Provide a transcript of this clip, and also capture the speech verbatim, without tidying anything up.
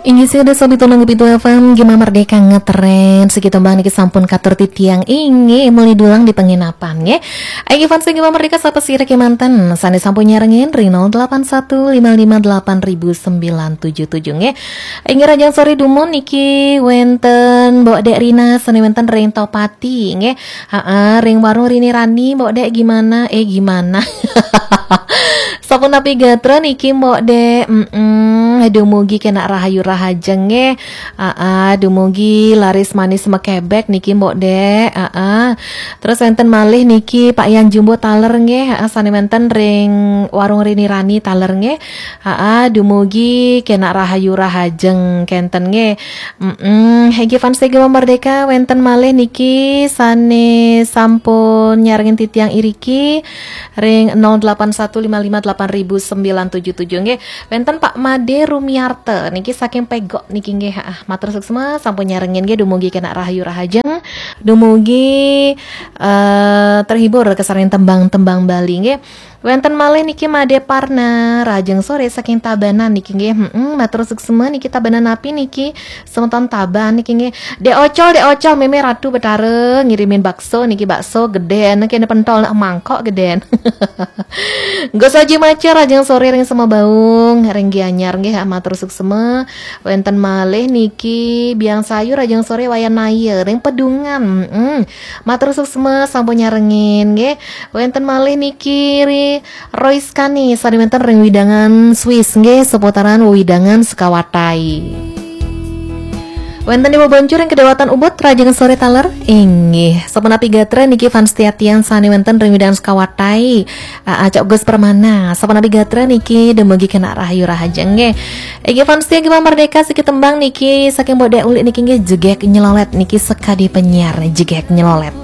Inggih, sida sobi tulung pitu F M, Gema Merdeka ngetren, siki tembang niki sampun katur titiang inggih muli dulang di penginapan, nggih. Inggih fans Gema Merdeka, sapa sira kemanten, sane sampun nyarengin ring nol delapan satu lima lima delapan ribu sembilan tujuh tujuh, nggih. Inggih, rahajeng sore dumun niki wenten Mbok Dek Rina, sane wenten ring Topati, nggih. Heeh, ring warung Rini Rani, Mbok Dek gimana? Eh, gimana? Sapunapi gatra niki, Mbok Dek? Mm-mm, dumugi kena rahayu rahajeng nggih. Heeh, dumugi laris manis mekebek niki, Mbok Dek. Heeh. Terus wenten malih niki Pak Yan Jumbo taler nggih. Heeh, sane wenten ring warung Rini Rani taler nggih. Heeh, dumugi kena rahayu rahajeng kenten nggih. Mm-mm, inggih fans Gema Merdeka, wenten malih niki sane sampun nyarengin titiang iriki ring nol delapan satu lima lima delapan ribu sembilan tujuh tujuh, nggih. Wenten Pak Made Rumiarta niki saking Pegok niki, nggih. Heeh, matur suksma sampun nyarengin, nggih, dumugi kena rahayu rahajeng, dumugi eh, terhibur kesaring tembang-tembang Bali, nggih. Wenten malih niki Made Parna, rahajeng sore saking Tabanan niki, nggih. Mm-mm, matur suksma niki. Tabanan napi niki? Semeton Taban niki, nggih. Dek Ocol, Dek Ocol, meme Ratu Betara ngirimin bakso niki, bakso geden, kene pentol, nak mangkok geden. Gus Haji Macer, rahajeng sore ring Sema Baung, ring Gianyar nggih, matur suksma. Wenten malih niki Biang Sayur, rahajeng sore Wayan Naya ring Pedungan. Mm-mm. Matur suksma sampun nyarengin nggih. Wenten malih niki ri Royce Kani, sane wenten ring wewidangan Swiss nggih, seputaran wewidangan Sekawatai. Wenten Ibu Boncur ring Kedewatan Ubud, rahajeng sore taler. Inggih, sapunapi gatra niki fans setia tiang sane wenten ring wewidangan Sekawatai. Aa, Cok Gus Permana, sapunapi gatra niki dumugi kena rahayu rahajeng nggih. Inggih fans setia Gema Merdeka, siki tembang niki saking Mbok Dek Ulik niki, nggih, Jegek Nyelolet niki, sekadi penyiar Jegek Nyelolet.